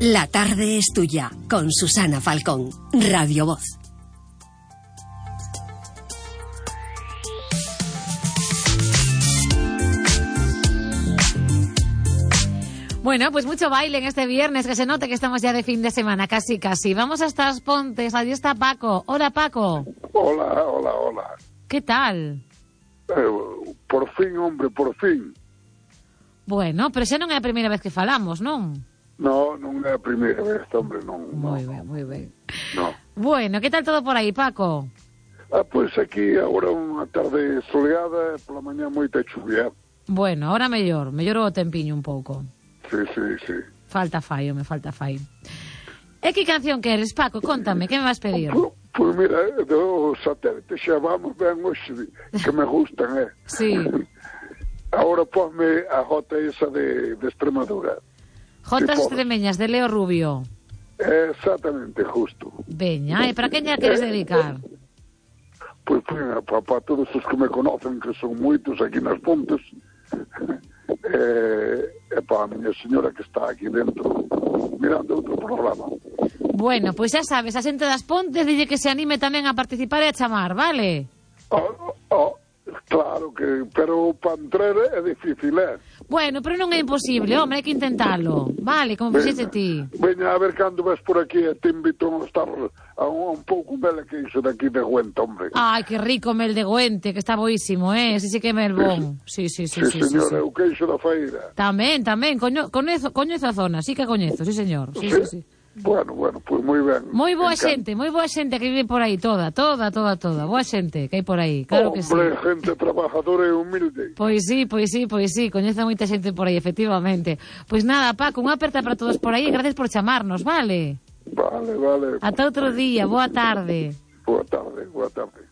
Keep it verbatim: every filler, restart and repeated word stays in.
La tarde es tuya, con Susana Falcón, Radio Voz. Bueno, pues mucho baile en este viernes, que se note que estamos ya de fin de semana, casi, casi. Vamos hasta As Pontes, allí está Paco. Hola, Paco. Hola, hola, hola. ¿Qué tal? Eh, por fin, hombre, por fin. Bueno, pero xa non é a primeira vez que falamos, non? No, non é a primeira vez, hombre, non. Moi no, ben, moi ben. No. Bueno, que tal todo por aí, Paco? Ah, pois pues aquí agora unha tarde soleada, pola mañá moita chuvia. Bueno, ahora mellor, mellor o tempiño un pouco. Sí, sí, sí. Falta fai, me falta fai. E que canción queres, Paco? Contame, que me vas pedir? Pois pues mira, do satélite xa vamos ben hoxe, que me gustan, eh? Sí. Ahora ponme a jota esa de, de Extremadura. Jotas si extremeñas de Leo Rubio. Exactamente, justo. Veña, e para quen ya queres dedicar? Pois pues, para pa todos os que me conocen, que son moitos aquí nas Pontes, e, e para a miña señora que está aquí dentro mirando outro programa. Bueno, pois pues xa sabes, a xente das Pontes dille que se anime tamén a participar e a chamar, vale? Oh, oh, claro que, pero para entrar é difícil, eh? Bueno, pero non é imposible, hombre, hai que intentalo. Vale, como fixeste ti. Veña, a ver cando vas por aquí e te invito a estar a un, un pouco mel que iso daqui de Güenta, hombre. Ai, que rico mel de Güente, que está boísimo, eh? Ese sí que é mel bon. Sí, sí, sí, sí, sí, señor, sí, sí. é o queixo da feira. Tamén, tamén, coño, coñezo, coñezo a zona, sí que coñezo, sí, señor. Sí, sí, sí. Bueno, bueno, pois pues moi ben. Moi boa xente, moi boa xente que vive por aí, toda, toda, toda, toda. Boa xente que hai por aí, claro que sí. Hombre, gente trabajadora e humilde. Pois sí, pois sí, pois sí, coñece moita xente por aí, efectivamente. Pois nada, Paco, unha aperta para todos por aí e gracias por chamarnos, vale? Vale, vale. Ata outro día, boa tarde. Boa tarde, boa tarde.